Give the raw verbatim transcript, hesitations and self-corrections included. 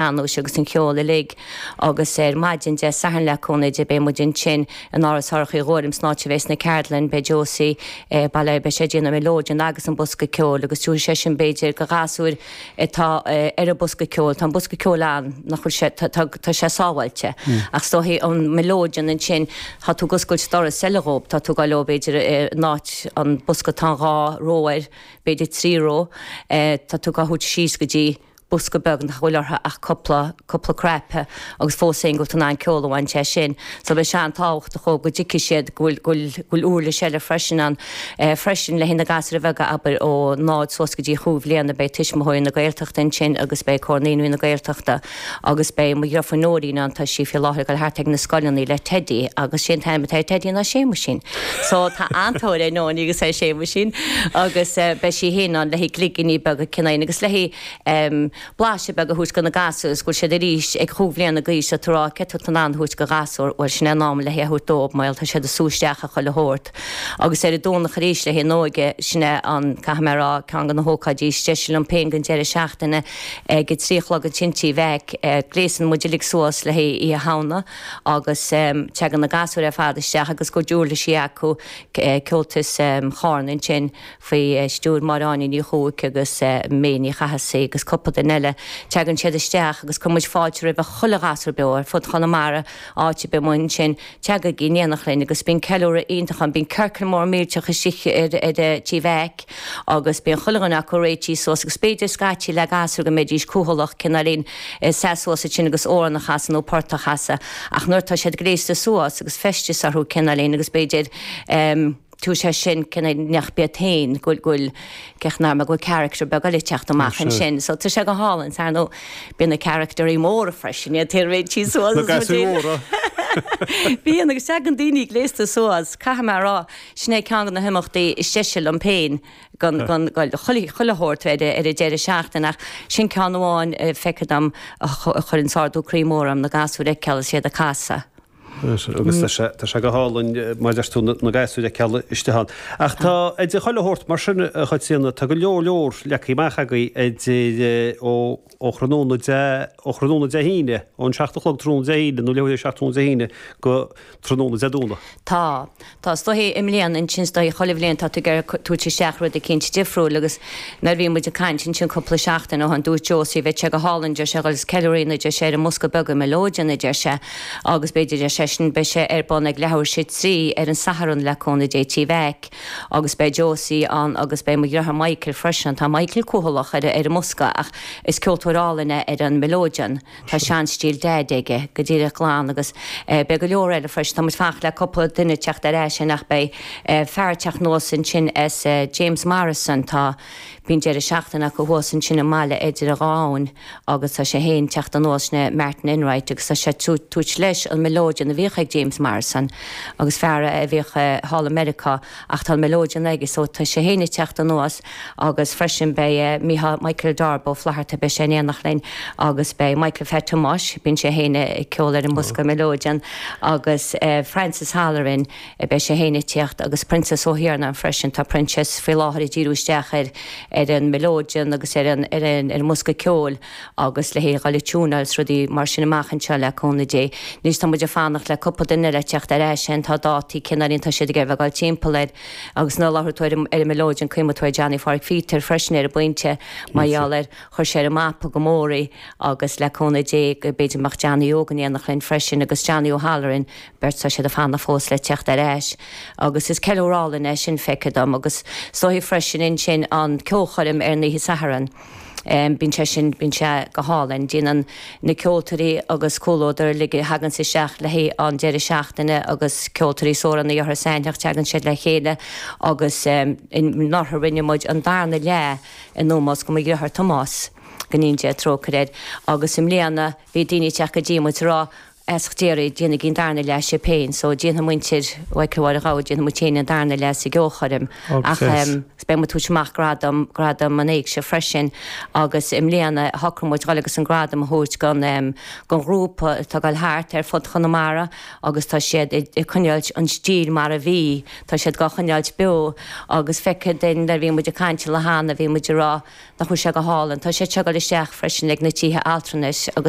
Sean-nóis agus an ceol uilig agus ar maidin Dé Sathairn le cúnamh Dé beidh muid ansin in Áras Shorcha Uí Ghuairim san áit a bheas na ceardlann beidh Josie baile beidh sé ag déanamh mileoidean agus an bosca ceoil agus tabharfaidh sé sin b'fhéidir go ghasúir atá ar an bosca ceoil tá an bosca ceoil ann nach bhfuil sé tá sé sábháilte ach is dóichí an mileoidean ansin tá tú ag oscailt doras eile dhób tá tú ag dul leo b'fhéidir in áit an bosca tá dhá ró air b'fhéidir trí ró tá tú ag thabhairt síos go dtí bosca beag nach bhfuil orthu ach cúpla cúpla cnaipe agus fós féin go bhfuil tú in ann ceol a bhaint as sin. So beidh sé an-tábhachtach go dtuigfidh siad go bhfuil go bhfuil go bhfuil uirlis eile freisin ann freisin le haghaidh na gasúir bheaga abair ó náid suas go dtí chúig bhliana beidh tuismitheoirí na Gaeltachta ansin agus beidh Comhar Naíonraí na Gaeltachta agus beidh mo dheirfiúr Nóirín ann tá sí faoi láthair ag dul thart ag na scoileanna le Teddy agus sé an t-ainm atá ar Teddy ná Séamuisín. So tá an-tóir ar Nóiní agus ar Séamuisín agus beidh sí féin ann le haghaidh cloigíní beaga cineál agus le haghaidh blaiseadh beag a thabhairt do na gasúir is go bhfuil siad arís ag chúig bhliana d'aois tá tú ag rá cé tá tú in ann a thabhairt go ghasúr bhuel sin é an am le haghaidh a thabhairt dóibh mar tá siad ag sú isteach a chuile shórt. Agus ar an Domhnach arís le haghaidh an óige sin é an caithfidh mé a rá ceann de na hócáidí is deise liom féin den deireadh seachtaine ag a trí a chlog ansin Tigh Mheaic gléasann muid uilig suas le haghaidh Oíche Shamhna agus teagann na gasúir ar fad isteach agus cuid uirlisí acu Ceoltas Charna ansin faoi stiúir Máire Áine Ní Chuaig agus May Ní Chathasaigh agus cúpla duine eile. Teagann siad isteach agus cuireann muid fáilte roimh chuile ghasúr beo ar fud Chonamara áit ar bith amuigh ansin teagaigí in éineacht linn agus bíonn ceiliúradh iontach ann bíonn ciorcal mór millteach istigh ar ar Tigh Mheaic agus bíonn chuile dhuine acu réitithe suas agus b'fhéidir scaití le gasúir go mbeidís cúthaileach cineáilín seasamh suas ansin agus amhrán a chasadh nó port a chasadh ach nuair atá siad gléasta suas agus feisteas orthu cineáilín agus b'fhéidir tú sé sin cineál nach iad féin go bhfuil cén go bhfuil character beag eile teacht amach ansin so tá sé go hálainn ar ndóigh bíonn na characterí móra freisin iad réitithe suas Na gasúir mhóra. Bíonn agus teagann daoine gléasta suas caithfidh mé a rá sin é ceann de na himeachtaí is deise liom féin gan gan chuile chuile shórt ar ar an deireadh seachtaine ach sin ceann amháin feicthe dom a chuireann ardú croí mór orm na gasúir a fheiceáil is iad ag casadh. Agus tá sé tá sé go hálainn mar deir tú na gasúir a fheiceáil istigh ann. Ach tá idir chuile shórt mar sin a Chaitríona tá go leor leor leagtha amach agaibh idir ó ó thráthnóna Dé ó thráthnóna Dé hAoine ón seacht a chlog tráthnóna Dé hAoine nó leathuair seacht tráthnóna Dé hAoine go tráthnóna Dé Domhnaigh. Tá Tá is dóichí i mbliana ansin is dóichí chuile bhliain tá tú ag iarraidh tabhairt isteach rud eicínt difriúil agus nuair a bhí muid ag caint ansin cúpla seachtain ó shin dúirt Josie bheadh sé go hálainn deir sé agus ceiliúradh deir sé ar an mbosca beag an mileoidean a deir sé agus b'fhéidir deir sé sin beidh sé ar bun ag leathuair tar éis a trí ar an Satharn le cúnamh Dé Tigh Mheaic agus beidh Josie ann agus beidh mo dheartháir Michael freisin tá Michael cúthaileach ar ar an mbosca ach is ceoltóir álainn é ar an mileoidean Tá seanstíl Daid aige go díreach glan agus beidh go leor eile freisin tá muid ag fanacht le cúpla duine teacht ar ais ach beidh fear teacht anuas ansin as James Morrison tá bíonn deireadh seachtaine acu thuas ansin i mbaile idir a dhá abhainn agus tá sé féin teacht anuas sin Martin Enright agus tá sé tabhairt leis an mileoidean a bhíodh ag James Morrison agus fear a bhíodh thall i Meiriceá ach tá an mileoidean aige so tá sé féin ag teacht anuas agus freisin beidh Micheál Michael Darbo Flatharta beidh sé in éineacht linn agus beidh Michael Phat Thomáis bíonn sé féin ag ceol ar an mbosca mileoidean agus Francis Halloran beidh sé féin ag teacht agus Princess Ó hIarnáin freisin tá Princess faoi láthair ag díriú isteach ar ar an mileoidean agus ar an ar an ar an mbosca ceoil agus le haghaidh dul ag tiúnáil is rudaí mar sin amach anseo le cúnamh Dé. Anois tá muid ag fanacht le cúpla duine le teacht ar ais tá dátaí cineáilín tá siad ag iarraidh bheith ag dul timpeall air agus nuair a labhair tú ar ar an mileoidean cuimhneoidh tú ar Johnny Phádraig Peter freisin ar an bpointe mar gheall ar chuir sé ar an mapa go mór é agus le cúnamh Dé go b'fhéidir mbeadh Johnny Óg in éineacht linn freisin agus Johnny O'Halloran beirt tá siad ag fanacht fós le teacht ar ais agus is ceiliúradh álainn é sin feicthe dom agus is dóichí freisin ansin an ceolchoirm ar an oíche Sathairn. Um, bíonn sé sin bíonn sé go hálainn déanann na ceoltóirí agus comhluadar uilig a thagann isteach le haghaidh an deireadh seachtaine agus ceoltóirí sóranna orthu sainteach teagann siad le chéile agus um, anuraidh rinne muid an darna leath in ómós go mo dheartháir Tomás go ndéana Dia trócaire air agus i mbliana bhí daoine teacht go dtí muid rá As deireadh déanfaidh an darna leath sibh féin, so déanfaidh muintir Mhichael Mháire Ghabha, déanfaidh muid féin an darna leath sa gceolchoirm. Ach beidh muid tabhairt amach gradam, gradam an éigse freisin agus i mbliana shocraigh muid dhul agus an gradam a thabhairt gon gon ghrúpa atá ag dul thart ar fud Chonamara agus tá siad ag coinneáilt an stíl mar a bhí, tá siad dhá choinneáilt beo agus feicthe duinn nuair a bhí muid ag caint le hAnna bhí muid ag rá nach bhfuil sé go hálainn. Tá siad seo ag dul isteach freisin ag na tithe altranais agus